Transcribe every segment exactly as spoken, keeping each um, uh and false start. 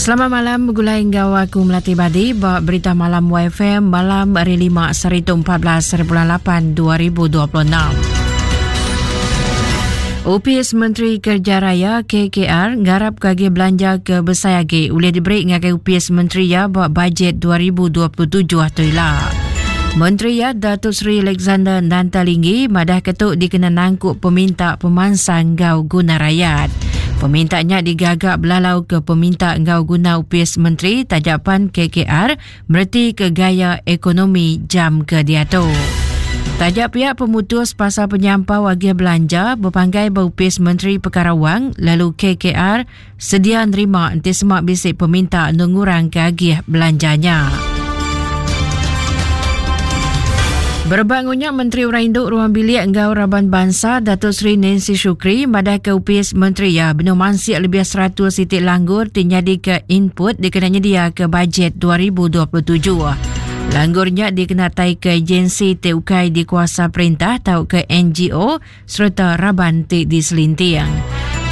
Selamat malam begulai enggau aku Melati Badi ba berita malam Y F M malam hari lima seribu empat belas bulan lapan dua ribu dua puluh enam. Opis Menteri Kerja Raya K K R ngarap kagi belanja ke besai agi boleh diberi ngagai Opis Menteri ya ba bajet dua ribu dua puluh tujuh tu ila. Menteri ya Datuk Seri Alexander Nanta Linggi madah ketuk dikena nangkup peminta pemansang gau guna rakyat. Pemintanya digagak belalau ke peminta enggau guna Upis Menteri Tajapan K K R mereti ke gaya ekonomi jam ke diatu. Tajak pihak pemutus pasal penyampau agih belanja berpanggai berupis Menteri Perkara Wang lalu K K R sedia nerima enti semak bisik peminta nungurang ke agih belanjanya. Berebak ngunya Menteri Orang Induk Ruang Bilik Enggau Raban Bansa Datuk Seri Nancy Shukri madah ke Upis Menteri ya benuh mansik lebih seratus titik langgur ti ke input dikena nyedia ke bajet dua ribu dua puluh tujuh. Langgurnya dikenatai ke agensi T U K di kuasa perintah atau ke N G O serta raban ti diselintiang.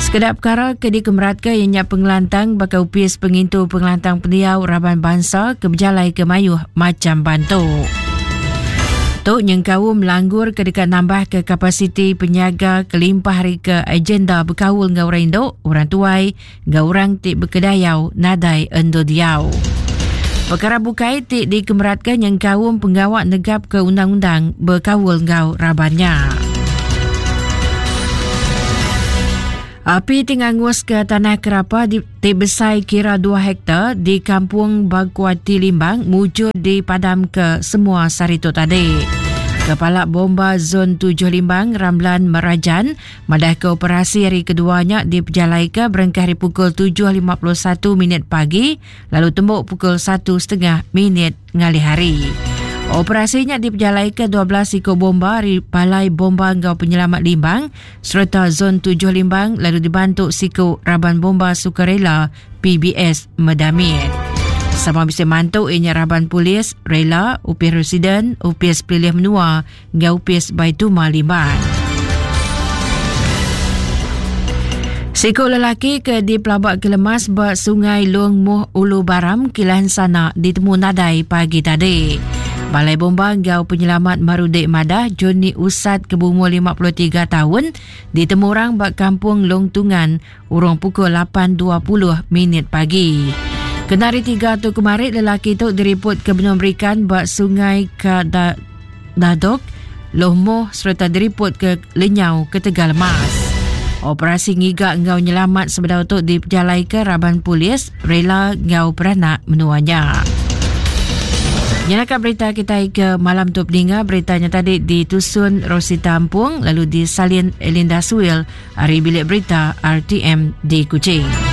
Sekedap perkara ke dikemerat ke ianya pengelantang bakal upis pengintu pengelantang pendiau raban bangsa ke berjalai ke mayuh macam bantu. Tu nyengkaum langgur ke dekat nambah ke kapasiti penyaga kelimpah hari ke agenda berkaul ngau orang induk, orang tuai, ngau orang ti berkedayau nadai endo diau. Perkara bukai ti dikemeratkan nyengkaum penggawak negap ke undang-undang berkaul ngau rabannya. Api tingangus ke tanah kerapa di, ti besai kira dua hektar di kampung Baguati Limbang mujur dipadam ke semua saritu tadi. Kepala Bomba Zon tujuh Limbang Ramlan Merajan madah ke operasi hari keduanya diperjalai ke berengkah hari pukul tujuh lima puluh satu minit pagi lalu tembuk pukul satu setengah minit ngalih hari. Operasinya diperjalai ke dua belas ikut bomba dari Balai Bomba Enggau Penyelamat Limbang serta Zon tujuh Limbang lalu dibantu siku Raban Bomba Sukarela P B S Medamit. Sama bisa mantu inya Raban Polis, Rela, Upis Residen, Upis Pelilih Menua, Enggau Upis Baituma Limbang. Siku lelaki ke dipelabak ke lemas ba Sungai Long Muh Ulu Baram Kilan Sana ditemu nadai pagi tadi. Balai Bomba Enggau Penyelamat Marudek Madah Johnny Usat ke berumur lima puluh tiga tahun ditemu orang ba Kampung Long Tungan urung pukul lapan dua puluh minit pagi. Kena hari tiga tu kemarin lelaki tu diriput ke benua berikan ba Sungai Kadadok Loh Moh serta diriput ke Lenyau ke Tegal Mas. Operasi ngigak enggau nyelamat sebedau tu diperjalai ke Raban Polis Rela Enggau Peranak Menuanya. Nyalakan berita kita ke malam tu peninga beritanya tadi ditusun Rosita Ampung lalu disalin Elinda Suil hari bilik berita R T M di Kuching.